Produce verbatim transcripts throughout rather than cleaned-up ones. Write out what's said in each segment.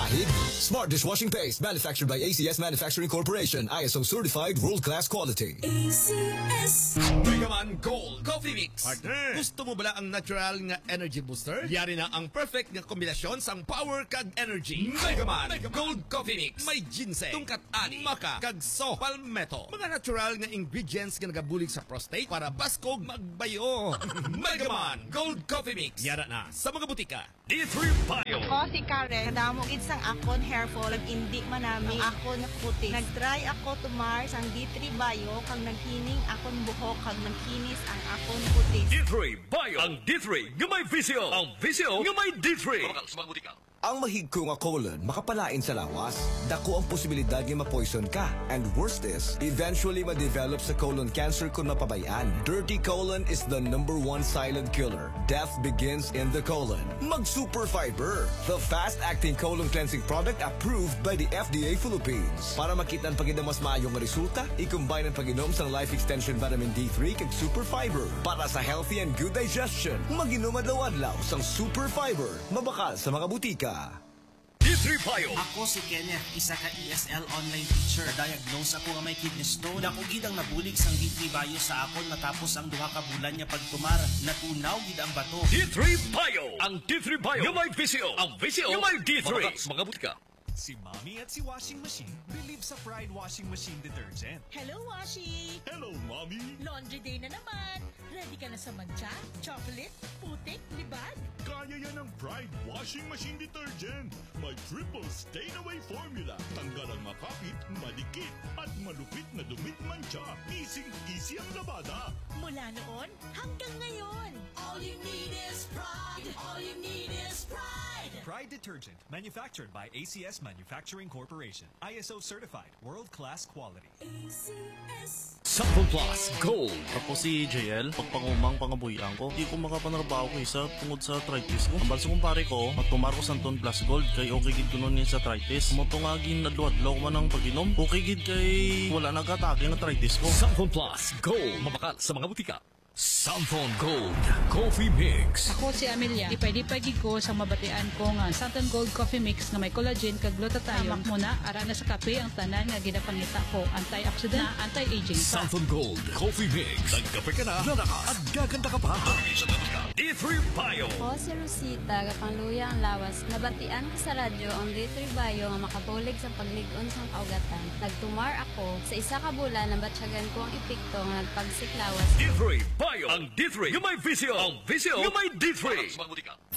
Smart dishwashing paste, manufactured by A C S Manufacturing Corporation, I S O certified, world-class quality. A C S. Megaman Gold Coffee Mix. Partner. Gusto mo bala ang natural nga energy booster? Yari na ang perfect nga kombinasyon sang power kag energy. Megaman Gold Coffee Mix. May ginseng, tungkat ani, maca, kag saw palmetto. Mga natural nga ingredients nga nagabulig sa prostate para baskog magbayo. Megaman Gold Coffee Mix. Yara na sa mga butika. D three Bio. Ako si Karen. Kadamo gid sang akon hair fall, kag indi manami ang akon puti. Nag-try ako tumar sang D three Bio, kag naghining akon buhok, kag nagkinis ang akon puti. D three Bio. Ang D three nga may visyo. Ang visyo nga may D three. Mabakal sa mga butika. Ang mahigko nga colon makapalain sa lawas. Dako ang posibilidad nga ma-poison ka. And worse is, eventually ma-develop sa colon cancer kung mapabay-an. Dirty colon is the number one silent killer. Death begins in the colon. Mag Super Fiber, the fast-acting colon cleansing product approved by the F D A Philippines. Para makita ang pag-inom mas maayo nga resulta, i-combine ang pag-inom sang Life Extension Vitamin D three kag Super Fiber para sa healthy and good digestion. Mag-inom adlaw-adlaw sang Super Fiber. Mabakal sa mga butika. D three Bio. Ako si Kenneth, isa ka E S L online teacher. Diagnose ako nga may kidney stone. Dako gid ang nabulig sang D three Bio sa akon matapos ang duha ka bulan nga pagtumar. Natunaw gid ang bato. D three Bio. Ang D three Bio nga may visyo. Ang visyo nga may D three. Mabakal sa mga butika. Si Mommy at si Washing Machine believe sa Pride Washing Machine Detergent. Hello, Washi! Hello, Mommy! Laundry day na naman! Ready ka na sa mantsa, chocolate, putik, libag? Kaya yan ng Pride Washing Machine Detergent. May triple stain away formula. Tanggal ang makapit, madikit, at malupit na dumi, mantsa. Easy-easy ang labada. Mula noon hanggang ngayon. All you need is Pride. All you need is Pride. Pride Detergent, manufactured by A C S Manufacturing Corporation. I S O certified, world-class quality. A C S. Cellphone Plus Gold. Ako si J L. Pagpangumang pangabuhian ko, di ko makapanarbaho kay sa tungod sa arthritis ko. Ambal sa kumpare ko, magtumar ko Santon Plus Gold kay okay gid kuno ni sa arthritis. Mo to nga ginadlo-adlaw ko man ang pag-inom. Okay gid kay wala nag-atake ang arthritis ko. Cellphone Plus Gold. Mabakal sa mga butika. Santon Gold Coffee Mix. Ako si Amelia. Lipay-lipay gid ko sa mabatian ko nga Santon Gold Coffee Mix nga may collagen kag glutathione. Hamak mo na, ara na sa kape ang tanan nga ginapangita ko. Antioxidant na anti-aging pa. Santon Gold Coffee Mix. Nagkape ka na, lalakas, at gaganda ka pa. D three Bio. Ako si Rosita, gapangluya ang lawas. Nabatian ko sa radyo ang D three Bio nga makabulig sa paglig-on sang kaugatan. Nagtumar ako. Sa isa ka bulan, nabatyagan ko ang epekto nga nagpagsik lawas. D three Bio. Ang D three nga may visyo. Ang visyo nga may D three.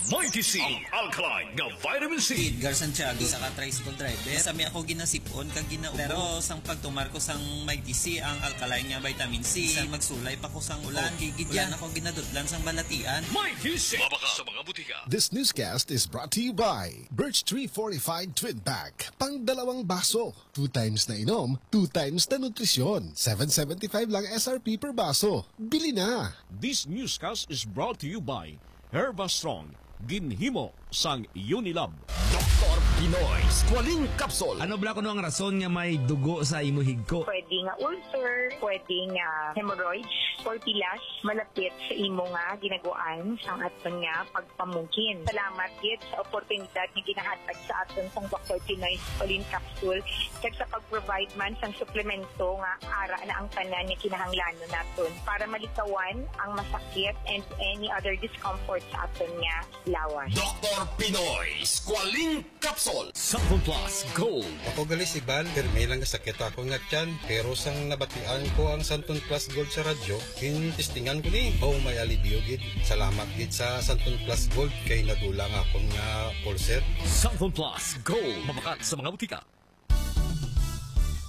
Mighty C, ang alkaline nga vitamin C. Edgar Santiago, isa ka tricycle driver. Masami ako ginasipon kag ginaubo. Pero sang pagtumar ko sang Mighty C, ang alkaline nga vitamin C, bisan magsulay pa ko sang ulan, okay gid yan. Wala na ko ginadutlan sang balatian. Mighty C. Mabakal sa mga butika. This newscast is brought to you by Birch Tree Fortified Twin Pack. Pang dalawang baso. Two times na inom, two times na nutrisyon. Seven seventy-five lang S R P per baso. Bili na! This newscast is brought to you by Herba Strong, ginhimo sang Unilab. Doktor Pinoy Squalene Capsule. Ano bala kuno ang rason nga may dugo sa imo higko? Pwede nga ulcer, pwede nga hemorrhoids, or pilas malapit sa imo nga ginaguan sang aton nga pagpamugin. Salamat gid sa oportunidad nga ginahatag sa aton sang Doktor Pinoy Squalene Capsule kag sa pag-provide man sang suplemento nga ara na ang tanan nga kinahanglanon naton para malikawan ang masakit and any other discomfort sa aton nga lawas. Doktor Pinoy Squalene Capsule. Santon Plus Gold. Ako gali si Bal, pirmi lang nga sakit ako nga tiyan, pero sang nabatian ko ang Santon Plus Gold sa radyo, gintestingan ko ni. Oh, may alibyo gid. Salamat gid sa Santon Plus Gold kay nadulang akon nga ulcer. Santon Plus Gold. Mabakat sa mga butika.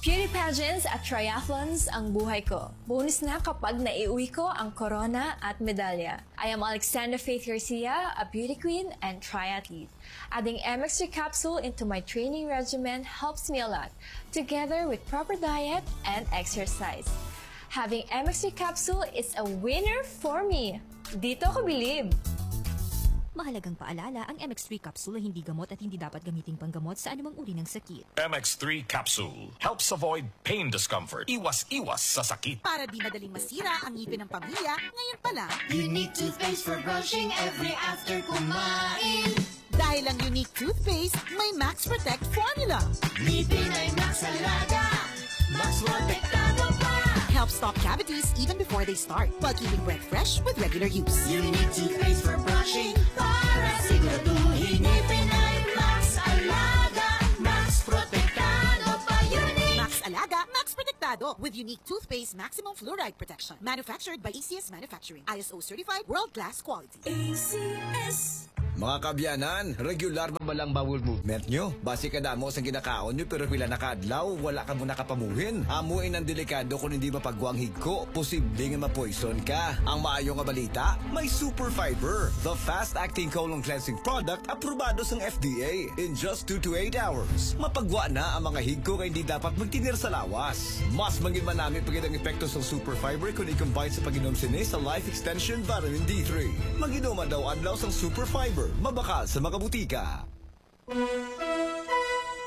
Beauty pageants at triathlons ang buhay ko. Bonus na kapag naiuwi ko ang korona at medalya. I am Alexandra Faith Garcia, a beauty queen and triathlete. Adding M X three capsule into my training regimen helps me a lot, together with proper diet and exercise. Having M X three capsule is a winner for me. Dito ako bilib. Mahalagang paalala, ang M X three capsule ay hindi gamot at hindi dapat gamiting panggamot sa anumang uri ng sakit. M X three capsule helps avoid pain discomfort. Iwas-iwas sa sakit. Para di madaling masira ang ngipin ng pamilya, ngayon pa lang. Unique toothpaste for brushing every after kumain. Dahil ang Unique Toothpaste may Max Protect Formula. Ngipin ay Max Alaga, Max Protektado pa. Help stop cavities even before they start, while keeping breath fresh with regular use. Unique Toothpaste for brushing, para siguraduhin ngipin ay Max Alaga, Max Protektado pa. Unique Max Alaga, Max Protektado, with Unique Toothpaste Maximum Fluoride Protection. Manufactured by A C S Manufacturing. I S O certified, world-class quality. A C S. Mga kabyanan, regular ba lang bowel movement nyo? Basi kadamo sang ginakaon nyo pero pila na ka adlaw, wala ka mo nakapamuhin. Amo in ang delikado kung hindi mapagwa ang higko, posible nga mapoison ka. Ang maayo nga balita, may Super Fiber, the fast-acting colon cleansing product, aprobado sang F D A. In just two to eight hours, mapagwa na ang mga higko nga hindi dapat magtinir sa lawas. Mas mangin manami pa gid ang epekto sang Super Fiber kung i-combine sa pag-inom sini sa Life Extension Vitamin D three. Mag-inom adlaw-adlaw sang Super Fiber, mabakal sa mga butika.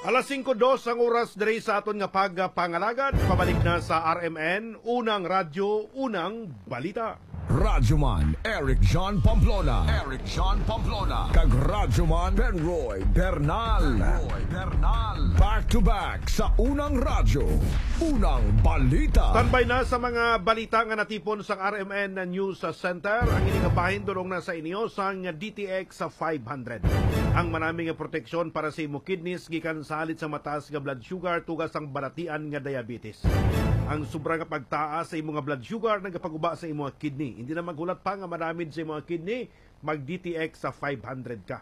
Alas singko dos ang oras diri sa aton nga pagpangalagad. Pabalik na sa R M N, Unang Radyo, Unang Balita. Radyoman Eric John Pamplona. Eric John Pamplona. Kag Radyoman Penroy Bernal. Penroy Bernal. Back to back sa Unang Radyo, Unang Balita. Standby na sa mga balita nga natipon sang R M N News Center. Ang ini nga bahin dulong na sa inyo sang D T X five hundred. Ang manami nga proteksyon para sa imo kidneys gikan sa halit sa mataas nga blood sugar, tuga sang balatian nga diabetes. Ang sobra nga pagtaas sa imo nga blood sugar nagapaguba sa imo nga kidney. Hindi na maghulat pa nga madamage sa imo nga kidney, mag D T X sa five hundred ka.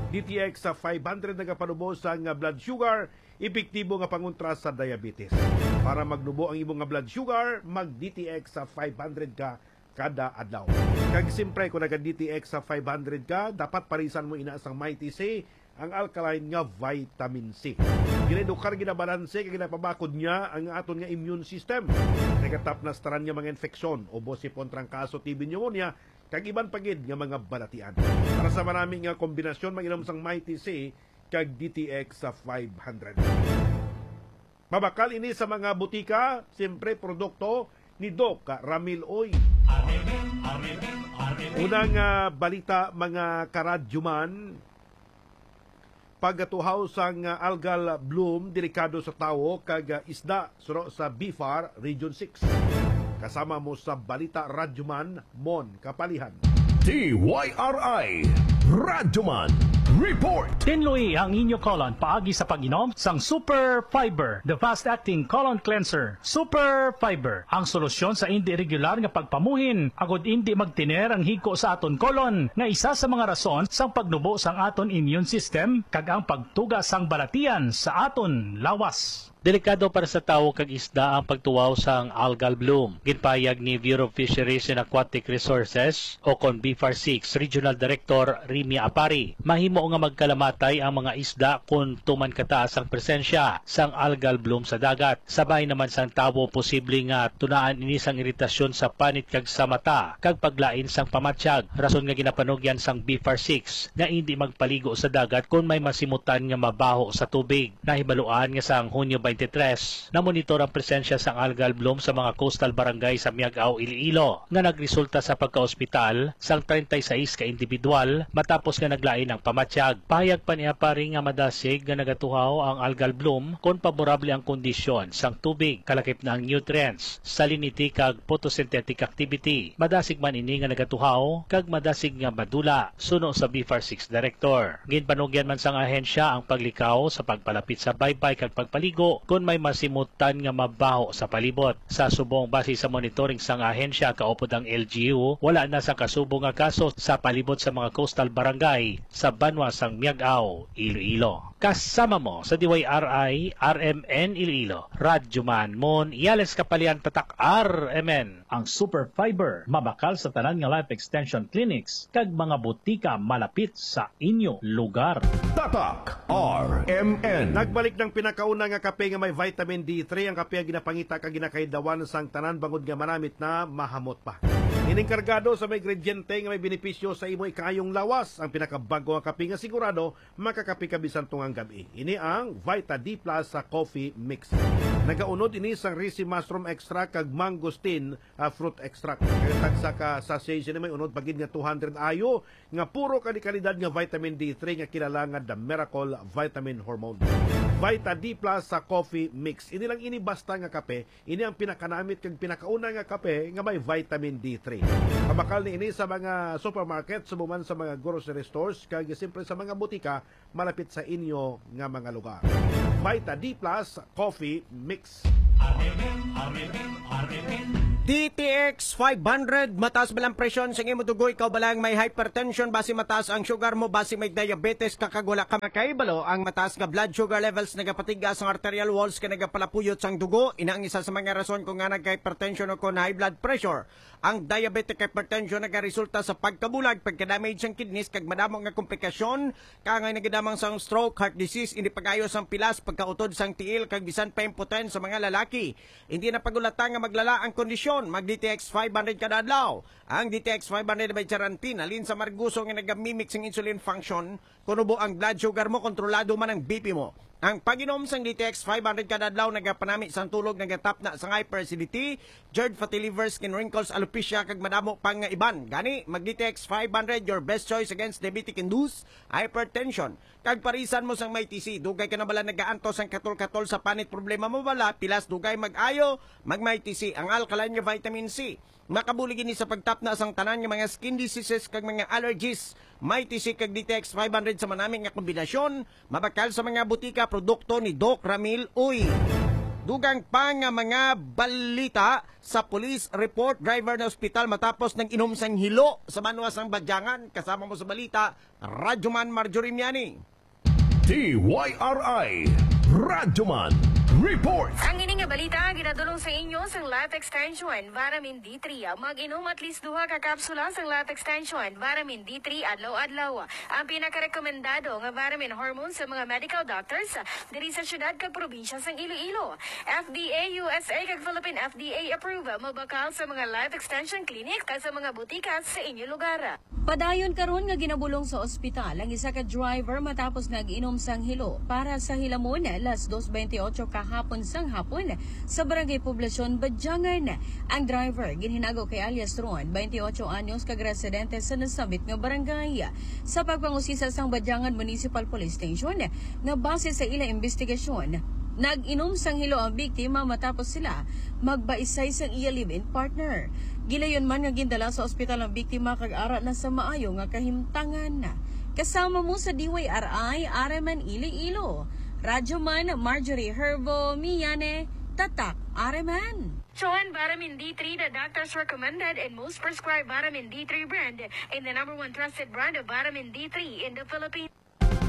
D T X sa five hundred nagapanubo sa nga blood sugar, epektibo nga pangontra sa diabetes. Para magnubo ang imo nga blood sugar, mag D T X sa five hundred ka kada adlaw. Kag siyempre, kung naga D T X sa five hundred ka, dapat parisan mo ina sang Mighty C, ang alkaline nga vitamin C. Ginaedukar, ginabalanse, kag ginapabakod niya ang aton nga immune system. Nagatapnas tanan nga mga infeksyon, ubo, sipon, trangkaso, T B, pneumonia, kag iban pa gid nga mga balatian. Para sa manami nga kombinasyon, mag-inom sang Mighty C kag D T X sa five hundred. Mabakal ini sa mga butika, siyempre produkto ni Doc Ramil Uy. Unang, ah, balita, mga karadyoman, pagkatuhaw sang, ah, algal bloom, delikado sa tawo kag, ah, isda, suno sa BFAR Region six. Kasama mo sa balita, Radyoman Mon Kapalihan. D Y R I Radyoman Report. Tinloi ang inyo colon paagi sa pag-inom sang Super Fiber, the fast-acting colon cleanser. Super Fiber, ang solusyon sa indi regular nga pagpamuhin, agod indi magtiner ang higko sa aton colon, nga isa sa mga rason sang pagnubo sang aton immune system kag ang pagtuga sang balatian sa aton lawas. Delikado para sa tawo kag isda ang pagtuhaw sang algal bloom. Ginpahayag ni Bureau of Fisheries and Aquatic Resources, o kon BFAR six Regional Director Remy Apari. Mahimo nga magkalamatay ang mga isda kon tuman kataas ang presensya sang algal bloom sa dagat. Sa bahin naman sang tawo, posible nga tunaan ini sang iritasyon sa panit kag sa mata, kag paglain sang pamatyag, rason nga ginapanugyan sang BFAR six nga indi magpaligo sa dagat kon may masimutan nga mabaho sa tubig. Nahibaluan nga sang Hunyo twenty-three, namonitor ang presensya sang algal bloom sa mga coastal barangay sa Miag-ao, Iloilo, nga nagresulta sa pagkaospital sang treinta y seis ka individual matapos nga naglain ang pamatyag. Pahayag pa ni Apari nga madasig nga nagatuhaw ang algal bloom kon paborable ang kondisyon sang tubig, kalakip na ang nutrients, salinity kag photosynthetic activity. Madasig man ini nga nagatuhaw kag madasig nga madula, suno sa BFAR six Director. Ginpanugyan man sang ahensya ang paglikaw sa pagpalapit sa baybay kag pagpaligo kon may masimutan nga mabaho sa palibot. Sa subong, base sa monitoring sang ahensya, kaupod ang L G U, wala na sang kasubo nga kaso sa palibot sa mga coastal barangay sa banwa sang Miag-ao, Iloilo. Kasama mo sa D Y R I R M N Iloilo, Radyoman Mon Yales Kapalian, Tatak R M N. Ang Super Fiber mabakal sa tanan nga Life Extension Clinics kag mga butika malapit sa inyo lugar. Tatak R M N. Nagbalik ang pinakauna nga kape nga may vitamin D three, ang kape nga ginapangita kag ginakaidawan sang tanan bangod nga manamit na mahamot pa. Ning kargado sa mga ingrediente nga may benepisyo sa imo ikaayong lawas, ang pinakabag-o nga kape nga sigurado makakape ka bisan tungang gab-i. Ini ang Vita D Plus sa Coffee Mix. Nagaunod ini sang risi mushroom extract kag mangosteen, ah, fruit extract. Kag tagsa ka sachet sini may unod pa gid nga two hundred I U nga puro kalikalidad nga vitamin D three nga kilala nga The Miracle Vitamin Hormone. Vita D Plus sa Coffee Mix. Ini lang ini basta nga kape, ini ang pinakanamit kag pinakauna nga kape nga may vitamin D three. Mabakal ni ini sa mga supermarket, subong man sa mga grocery stores, kag siyempre sa mga butika malapit sa inyo nga mga lugar. Vita D Plus Coffee Mix. R M N, R M N, R M N. D T X five hundred, mataas ba lang presyon sa imo dugo? Ikaw ba lang may hypertension? Basi mataas ang sugar mo? Basi may diabetes ka kag wala ka makahibalo? Ang mataas nga blood sugar levels nagapatigas ang arterial walls kag nagapalapuyot sang dugo. Ina ang isa sa mga rason kung nga nagka-hypertension o kon high blood pressure. Ang diabetic hypertension nagaresulta sa pagkabulag, pagka-damage sang kidneys kag madamo nga komplikasyon, kaangay nagadamang sang stroke, heart disease, hindi pag-ayo sang pilas, pagkautod sang tiil kag bisan pa impotensya sa mga lalaki. Hindi na pag-ulata nga maglala ang kondisyon. Mag D T X five hundred kada adlaw. Ang D T X five hundred may charantin, halin sa marguso nga nagamimik sang insulin function, kon ubo ang blood sugar mo, kontrolado man ang B P mo. Ang pag-inom sang D T X five hundred kada adlaw nagapanami sang tulog, nagatapna sang hyperacidity, GERD, fatty liver, skin wrinkles, alopecia, kag madamo pa nga iban. Gani, mag D T X five hundred, your best choice against diabetic-induced hypertension. Kag parisan mo sang Mighty C, dugay ka na bala nagaantos sang katol-katol sa panit, problema mo bala, pilas, dugay mag-ayo, mag Mighty C, ang alkaline nga vitamin C. Makabulig ini sa pagtapna sang tanan nga mga skin diseases kag mga allergies. Mighty C kag D T X five hundred sa manami nga kombinasyon, mabakal sa mga butika, produkto ni Doc Ramil Uy. Dugang pa nga mga balita sa police report, driver na ospital matapos nag-inom sang hilo sa banwa sang Badyangan. Kasama mo sa balita, Radyoman Marjorie Miani. D Y R I Radyoman Report. Ang ini nga balita ginadulong sa inyo sang Life Extension Vitamin D three. Mag-inom at least duha ka kapsula sang Life Extension Vitamin D three adlaw-adlaw. Ang pinakarekomendado nga vitamin hormone sa mga medical doctors diri sa siyudad kag probinsya sang Iloilo. F D A U S A kag Philippine F D A approved. Mabakal sa mga Life Extension Clinic kag sa mga butika sa inyo lugar. Padayon karon nga ginabulong sa ospital ang isa ka driver matapos nag-inom sang hilo. Para sa hilamon, las dos bentiocho kahapon sang hapon sa Barangay Poblacion, Badyangan. Ang driver ginhinago kay alias Ron, bentiocho anyos, kag residente sa nasambit nga barangay. Sa pagpangusisa sang Badyangan Municipal Police Station, nga base sa ila investigasyon, nag-inom sang hilo ang biktima matapos sila magbaisay sang iya live-in partner. Gilayon man nga gindala sa ospital ang biktima kag ara na sa maayo nga kahimtangan. Kasama mo sa D Y R I, Areman Iloilo. Radyoman Marjorie Herbo Miane, Tatak Areman. Chuan Vitamin D three, the doctor's recommended and most prescribed vitamin D three brand, and the number one trusted brand of vitamin D three in the Philippines.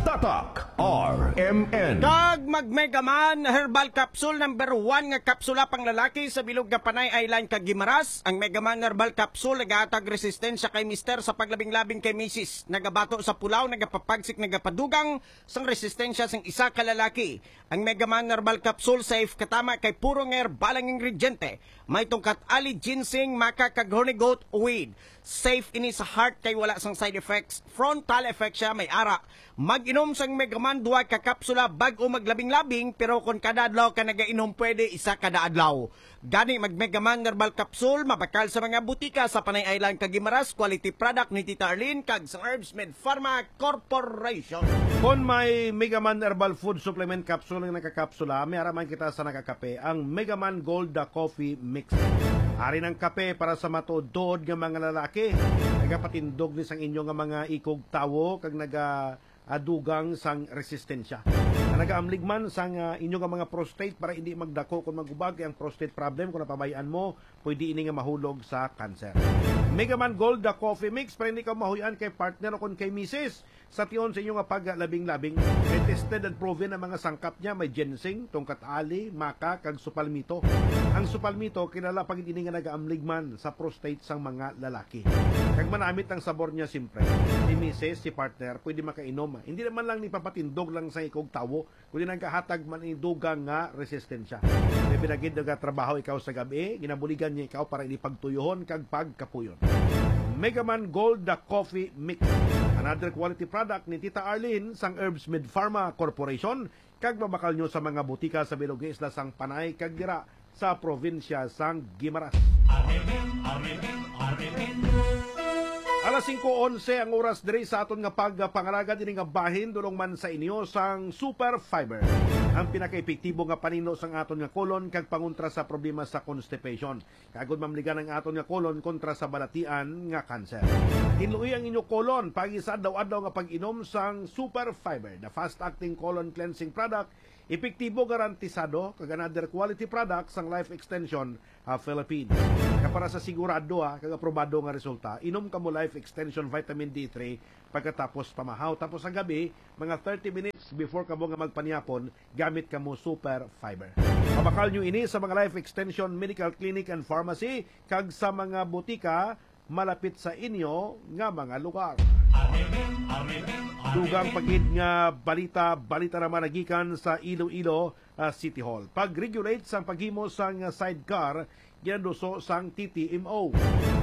Tatak R M N. Kag mag Megaman Herbal Capsule, number one nga kapsula pang lalaki sa bilog nga Panay Island kag Guimaras. Ang Megaman Herbal Capsule nagahatag resistensya kay mister sa paglabing-labing kay misis. Nagabato sa pulaw, nagapapagsik, nagapadugang sang resistensya sang isa ka lalaki. Ang Megaman Herbal Capsule safe katama kay puro nga herbal ang ingrediente. May tungkat ali, ginseng, maca, kag horny goat weed. Safe ini sa heart kay wala sang side effects. Frontal effect siya, may ara. Mag-inom sang Megaman duha ka kapsula bag-o maglabing-labing, pero kon kada adlaw ka nagainom, pwede isa kada adlaw. Gani, mag Megaman Herbal Capsule, mabakal sa mga butika sa Panay Island kag Guimaras, quality product ni Tita Arlene kag sa Herbs Med Pharma Corporation. Kon may Megaman Herbal Food Supplement Capsule nga nakakapsula, may ara man kita sa nakakape, ang Megaman Gold The Coffee Mix. Ari ng kape para sa matuod-tuod nga mga lalaki. Nagapatindog ni sang inyo nga mga ikog tawo kag naga adugang sang resistensya. Ang nagaamlig man sang, ah, inyo nga mga prostate para hindi magdako kung magubag kay ang prostate problem, kung napabayaan mo, pwede ini nga mahulog sa cancer. Megaman Gold, the coffee mix, para hindi ka mahuyan kay partner o kung kay misis. Sa tion sa inyo nga paglabing-labing, may tested and proven ang mga sangkap niya. May ginseng, tungkat ali, maca, kag supalmito. Ang supalmito, kilala pa gid ini nga nagaamlig man sa prostate sang mga lalaki. Kag manamit ang sabor niya, siyempre. Si misis, si partner, pwede makainom. Hindi naman lang ni papatindog lang sa ikog tawo, kundi nagahatag man ini dugang nga resistensya. May binagid nagatrabaho ikaw sa gabi, ginabuligan niya ikaw para ini pagtuyuhon kag pagkapuyon. Megaman Gold, the coffee mix. Another quality product ni Tita Arlene sang Herbs Med Pharma Corporation, kag mabakal nyo sa mga butika sa bilog nga isla sang Panay kag dira sa probinsya sang Guimaras. Alas singko onse ang oras diri sa aton nga pagpangalagad ini nga bahin, dulong man sa inyo sang Super Fiber, ang pinakaepektibo nga panino sang aton nga kolon kag pangontra sa problema sa constipation. Kag kon mamligan ang aton nga kolon kontra sa balatian nga kanser. Tinloi ang inyo kolon paagi sa adlaw-adlaw nga pag-inom sang Super Fiber, the fast-acting colon cleansing product, epektibo, garantisado, kag another quality product sang Life Extension, ah, Philippines. Kag para sa sigurado, ah, kag aprobado nga resulta, inom kamo Life Extension Vitamin D three pagkatapos pamahaw. Tapos sa gabi, mga thirty minutes before kamo nga magpanihapon, gamit kamo Super Fiber. Mabakal nyo ini sa mga Life Extension Medical Clinic and Pharmacy kag sa mga butika malapit sa inyo nga mga lugar. Dugang pa gid nga balita, balita naman nagikan sa Iloilo, ah, City Hall. Pag-regulate sang paghimo sang sidecar, ginaduso sang T T M O.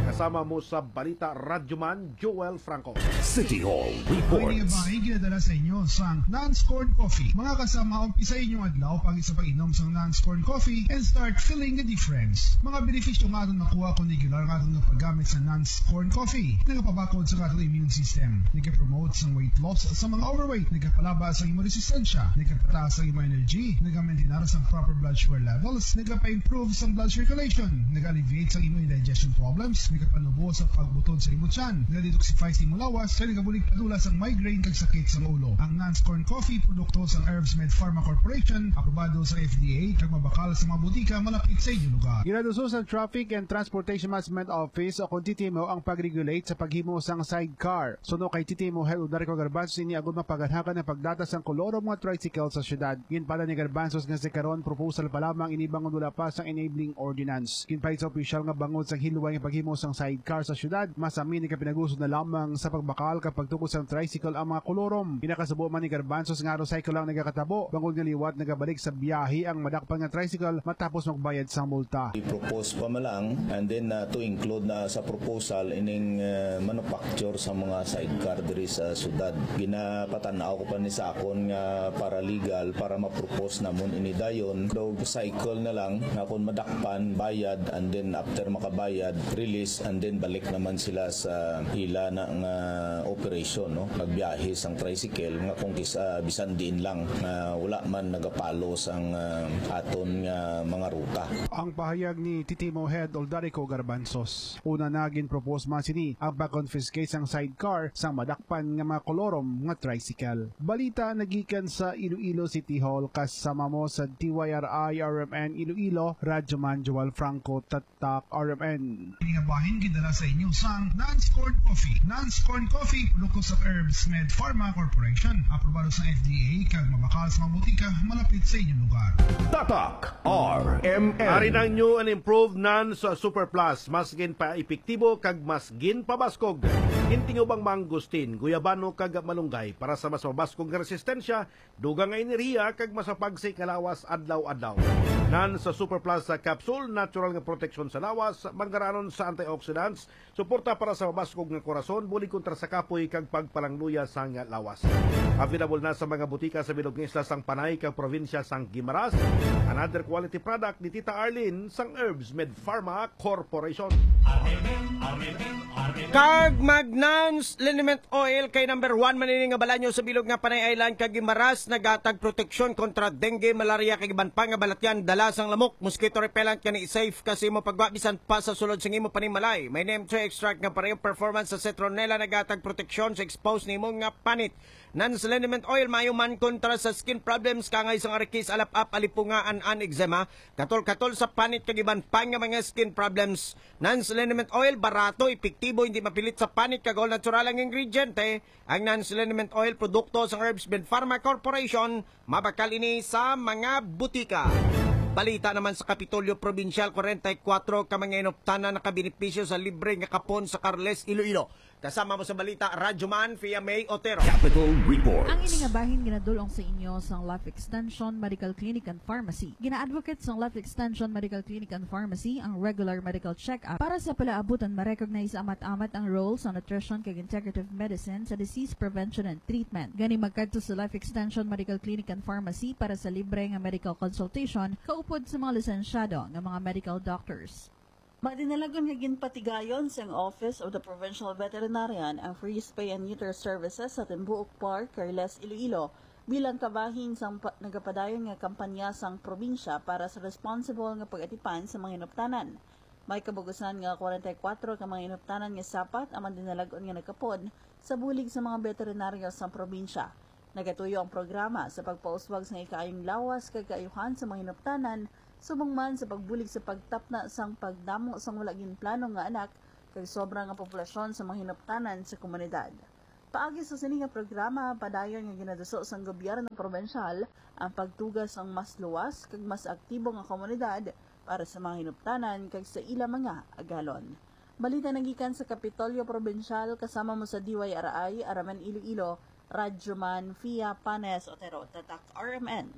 Kasama mo sa balita, Radyoman Joel Franco. City Hall Ang Reports. Bahin ginadala sa inyo sang Nans Corn Coffee. Mga kasama, umpisa inyong adlaw paagi sa pag-inom sang Nans Corn Coffee and start feeling the difference. Mga benepisyo nga aton makuha kung regular nga aton nga paggamit sa Nans Corn Coffee, nagapabakod sa aton immune system, nagapromote sang weight loss sa mga overweight, nagapalaba sa imong resistensya, nagapataas ang imong energy, nagamaintinar sang proper blood sugar levels, nagapa-improve sang blood circulation, nag-alleviate sang imong indigestion problems, nagapanubo sa pagbutod sa imong tiyan, naga-detoxify sa imong lawas, kag nagabulig padula sang migraine kag sakit sang ulo. Ang Nans Corn Coffee, produkto sang Herbs Med Pharma Corporation, aprobado sa F D A, kag mabakal sa mga butika malapit sa inyong lugar. Ginaduso sa Traffic and Transportation Management Office o kon T T M O ang pag-regulate sa paghimo sang sidecar. Suno kay T T M O Head Odarico Garbanzos ini agud mapaganhakan ang pagdata sang kolorom nga tricycle sa syudad. Ginpala ni Garbanzos nga sa karon proposal pa lamang ini bangod wala pa sang enabling ordinance. Ginpahid sa opisyal nga bangod sang hilway nga paghimo sang sidecar sa syudad, mas amin nagapinagusod na lamang sa pagbakal kag pagtukod sang tricycle ang mga kolorom. Ginakasubo man ni Garbanzos nga aron cycle lang nagakatabo, bangod nga liwat nagabalik sa biyahe ang madakpan nga tricycle matapos magbayad sang multa. I-propose pa man lang, and then, uh, to include na sa proposal ining, uh, manufacture sa mga sidecar diri sa syudad. Ginapatan-aw ko pa ni sa akon nga paralegal para ma-propose namon ini dayon. Daw cycle na lang nga kung madakpan, bayad, and then after makabayad, release, and then balik naman sila sa ila na nga operation, no? Pagbiyahe sang tricycle nga kung kis-, ah, bisan diin lang, ah, wala man nagapalo sang, ah, aton nga mga ruta. Ang pahayag ni T T M O Head Oldarico Garbanzos. Una na, ginpropose man sini ang pag-confiscate sang sidecar sang madakpan nga mga kolorom nga tricycle. Balita nagikan sa Iloilo City Hall, kasama mo sa D Y R I R M N Iloilo, Radyoman Joel Franco, Tatak R M N. Ini nga bahin gidala sa inyo sang Nans Corn Coffee. Nans Corn Coffee, produkto sa Herbs Med Pharma Corporation. Aprobado sa F D A kag mabakal sa mga butika malapit sa inyong lugar. Tatak R M N. Ari na ang new and improved Nans Super Plus. Mas ginpaepektibo kag mas ginpabaskog. Gintingubang mangustin, guyabano kag malunggay para sa mas mabaskog nga resistensya, dugang nga enerhiya, kag mas mapagsik nga lawas adlaw-adlaw. Nans Super Plus sa capsule, natural nga proteksyon sa lawas, manggaranon sa antioxidants, suporta para sa mabaskog nga korason, bulig kontra sa kapoy kag pagpalangluya sang lawas. Available na sa mga butika sa bilog nga isla sang Panay kag probinsya sang Guimaras. Another quality product ni Tita Arlene sang Herbs Med Pharma Corporation. Kag mag Nans Liniment Oil kay number one man ini nga balanyo sa bilog nga Panay Island kag Guimaras, naghatag proteksyon kontra dengue, malaria kag iban pa nga balatian. Dala sang lamok, mosquito repellent, kani safe ka sa imo pagwa bisan pa sa sulod sang imo panimalay. May neem three extract nga parehong performance sa citronella, nagatag proteksyon sa expose nimo nga panit. Non-liniment oil maayo man kontra sa skin problems, kaangay sang arikis, alap-ap, alipunga, an-an, eczema, katol-katol sa panit, kag iban pa nga mga skin problems. Non-liniment oil, barato, epektibo, hindi mapilit sa panit, kag all natural ang ingrediente. Ang non-liniment oil, produkto sang Herbs Med Pharma Corporation, mabakal ini sa mga butika. Balita naman sa Kapitolyo Probinsyal, kwarenta y kuwatro ka mga inuptanan nakabenepisyo sa libre nga kapon sa Carles, Iloilo. Kasama mo sa balita, Radyo Man, Fia May Otero. Capital Report. Ang ini nga bahin ginadul-ong sa inyo sang Life Extension Medical Clinic and Pharmacy. Gina-advocate sang Life Extension Medical Clinic and Pharmacy ang regular medical check-up para sa palaabutan ma-recognize amat-amat ang role sa nutrition kag integrative medicine sa disease prevention and treatment. Gani, magkadto sa Life Extension Medical Clinic and Pharmacy para sa libre nga medical consultation kaupod sa mga lisensyado nga mga medical doctors. Madinalagon nga ginpatigayon sang Office of the Provincial Veterinarian ang free spay and neuter services sa Timbuok Park, Carles, Iloilo, bilang kabahin sang pa-, nagapadayon nga kampanya sang probinsya para sa responsible nga pag-atipan sa mga hinuptanan. May kabugusan nga kwarenta y kuwatro ka mga hinuptanan nga sapat ang madinalagon nga nagkapon sa bulig sa mga veterinaryo sang probinsya. Nagatuyo ang programa sa pagpauswag sang ikaayong lawas kag kaayuhan sa mga hinuptanan, subong man sa pagbulig sa pagtapna sang pagdamo sang wala ginplano nga anak kag sobra nga populasyon sa mga hinuptanan sa komunidad. Paagi sa sini nga programa, padayon nga ginaduso sang gobyerno probensyal ang pagtuga sang mas luwas kag mas aktibo nga komunidad para sa mga hinuptanan kag sa ila mga agalon. Balita nagikan sa Kapitolyo Probensyal, kasama mo sa D Y R I, Araman Iloilo, Radyo Man, Fia Panes Otero, Tatak R M N.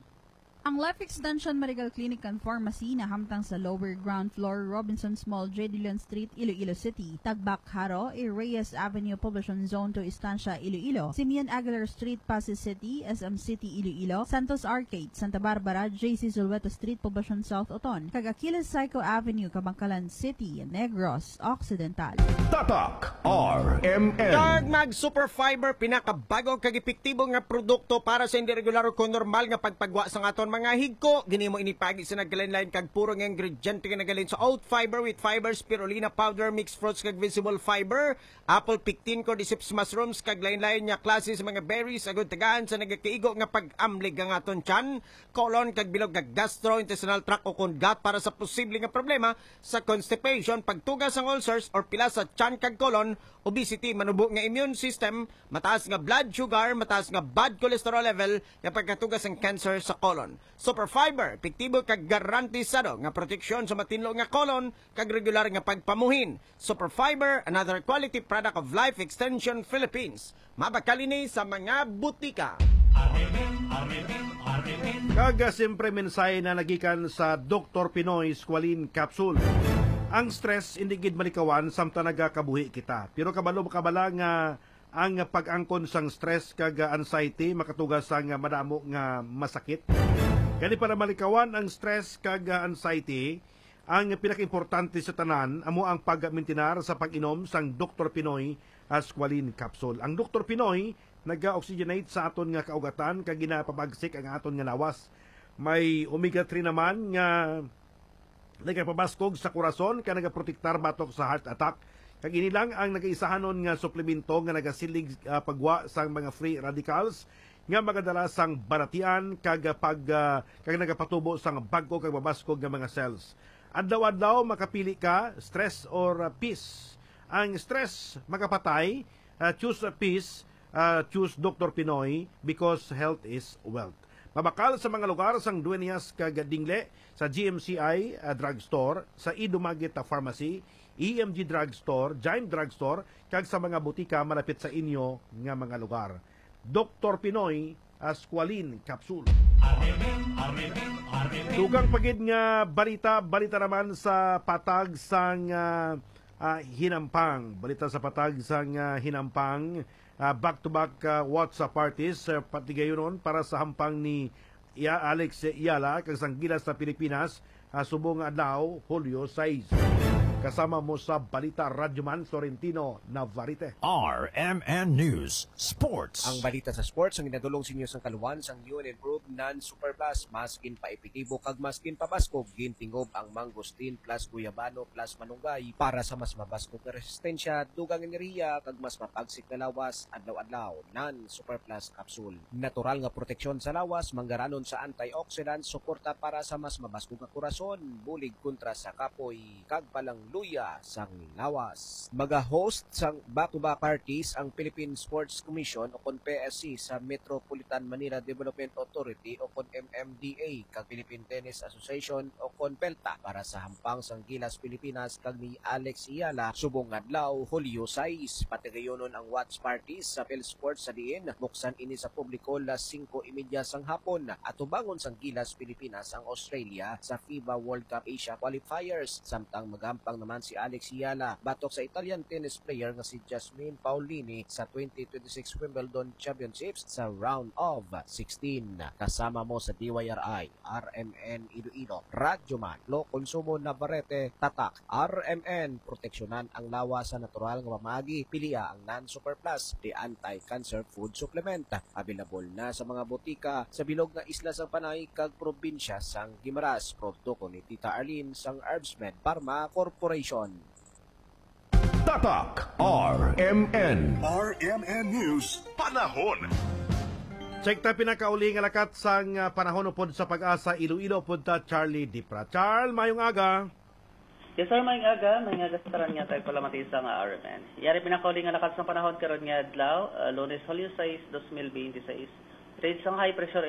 Ang Life Extension Medical Clinic and Pharmacy nahamtang sa lower ground floor, Robinsons Mall, J. Dillon Street, Iloilo City, Tagbak, Jaro, A. Reyes Avenue, Poblacion Zone two, Estancia, Iloilo, Simeon Aguilar Street, Passi City, S M City, Iloilo, Santos Arcade, Santa Barbara, J C Zulueta Street, Poblacion South, Oton, kag Achilles Seco Avenue, Kabankalan City, Negros Occidental. Tatak R M N. Kag mag Super Fiber, pinakabago kag epektibo nga produkto para sa hindi regular o kon normal nga pagpagwa sang aton mga higko. Ginhimo ini paagi sa nagkalain-lain kag puro nga ingrediente nga nagaling sa oat fiber, wheat fiber, spirulina powder, mixed fruits kag vegetable fiber, apple pectin, cordyceps mushrooms, kag lain-lain nga klase sa mga berries, agud tagaan sa nagakaigo nga pag-amlig ang aton tiyan, colon, kag bilog nga gastrointestinal tract o kon gut para sa posible nga problema sa constipation, pagtuga sang ulcers, or pila sa tiyan kag colon, obesity, manubo nga immune system, mataas nga blood sugar, mataas nga bad cholesterol level, nga pagkatuga sang cancer sa colon. Super Fiber, epektibo kag garantisado nga proteksyon sa matinlo nga colon kag regular nga pagpamuhin. Super Fiber, another quality product of Life Extension Philippines. Mabakal ini sa mga butika. Kag, ah, siyempre, mensahe na nagikan sa Doktor Pinoy Squalene Capsule. Ang stress, hindi gid malikawan samtang nagakabuhi kita. Pero kabalo, kabala nga ang pag-angkon sang stress kag, ah, anxiety makatuga sang, ah, madamo nga masakit. Gani, para malikawan ang stress kag, ah, anxiety, ang pinakaimportante sa tanan amo ang pagmintinar sa pag-inom sang Doktor Pinoy, ah, Squalene Capsule. Ang Doktor Pinoy naga-oxygenate sa aton nga kaugatan kag ginapabagsik ang aton nga lawas. May omega three naman nga nagapabaskog sa korason kag nagaprotektar batok sa heart attack. Kag ini lang ang nagaisahanon nga suplemento nga nagasilig, ah, pagwa sang mga free radicals nga magadala sang balatian kag pag, ah, kag nagapatubo sang bag-o kag mabaskog nga mga cells. Adlaw-adlaw makapili ka, stress or, ah, peace. Ang stress makapatay, ah, choose peace, ah, choose Doktor Pinoy because health is wealth. Mabakal sa mga lugar sang Dueñas kag Dingle, sa G M C I, ah, Drugstore, sa E Dumaguete Pharmacy, E M G Drugstore, Jaime Drugstore, kag sa mga butika malapit sa inyo nga mga lugar. Doktor Pinoy, ah, Squalene Capsule. Dugang pa gid nga balita, balita naman sa patag sang, ah, ah, hinampang. Balita sa patag sang, ah, hinampang. Ah, back-to-back, ah, WhatsApp parties, ah, patigayunon para sa hampang ni Iya-, Alex Eala kag sang Gilas sa Pilipinas, ah, subong nga adlaw, Hulyo sais. Kasama mo sa balita, Radyoman Florentino Navarrete. R M N News Sports. Ang balita sa sports ang ginadulong sa inyo sang kaluwan sang U N N Group non-Super Plus. Mas ginpaepektibo kag mas ginpabaskog, gintingob ang mangosteen plus guyabano plus malunggay para sa mas mabaskog nga resistensya, dugang enerhiya, kag mas mapagsik nga lawas adlaw-adlaw. Non-Super Plus Capsule. Natural nga proteksyon sa lawas, manggaranon sa antioxidant, suporta para sa mas mabaskog nga korason, bulig kontra sa kapoy, kag palangluya sang lawas. Maga-host sang back-to-back parties ang Philippine Sports Commission o kon P S C sa Metropolitan Manila Development Authority o kon M M D A kag Philippine Tennis Association o kon PELTA para sa hampang sang Gilas Pilipinas kag ni Alex Eala subong nga adlaw, Hulyo sais. Patigayunon ang watch parties sa PhilSports sa diin muksan ini sa publiko las singko y media sang hapon. Atubangon sang Gilas Pilipinas ang Australia sa FIBA World Cup Asia Qualifiers, samtang magampang naman si Alex Eala batok sa Italian tennis player nga si Jasmine Paolini sa twenty twenty-six Wimbledon Championships sa round of sixteen. Kasama mo sa D Y R I, R M N Iloilo, Radyoman Lo Consumo Navarrete, Tatak R M N. Proteksyonan ang lawas sa natural nga pamaagi. Pilia ang non-Super Plus, the anti-cancer food supplement. Available na sa mga botika sa bilog nga isla sang Panay kag probinsya sang Guimaras. Produkto ni Tita Arlene sang Herbsmed Pharma Corporation. Tatak R M N. R M N News Panahon. Check ta pinakauli nga lakat sang, ah, panahon upod sa PAGASA Iloilo, upod ta Charlie Dipra. Charles, mayong aga. Yes, sir, mayong aga. Mayong aga sa tanan nga tagpalamati sa nga R M N. Yari pinakauli nga lakat sang panahon karon nga adlaw, ah, Lunes, Hulyo sais, dos mil binte sais. Range sang high pressure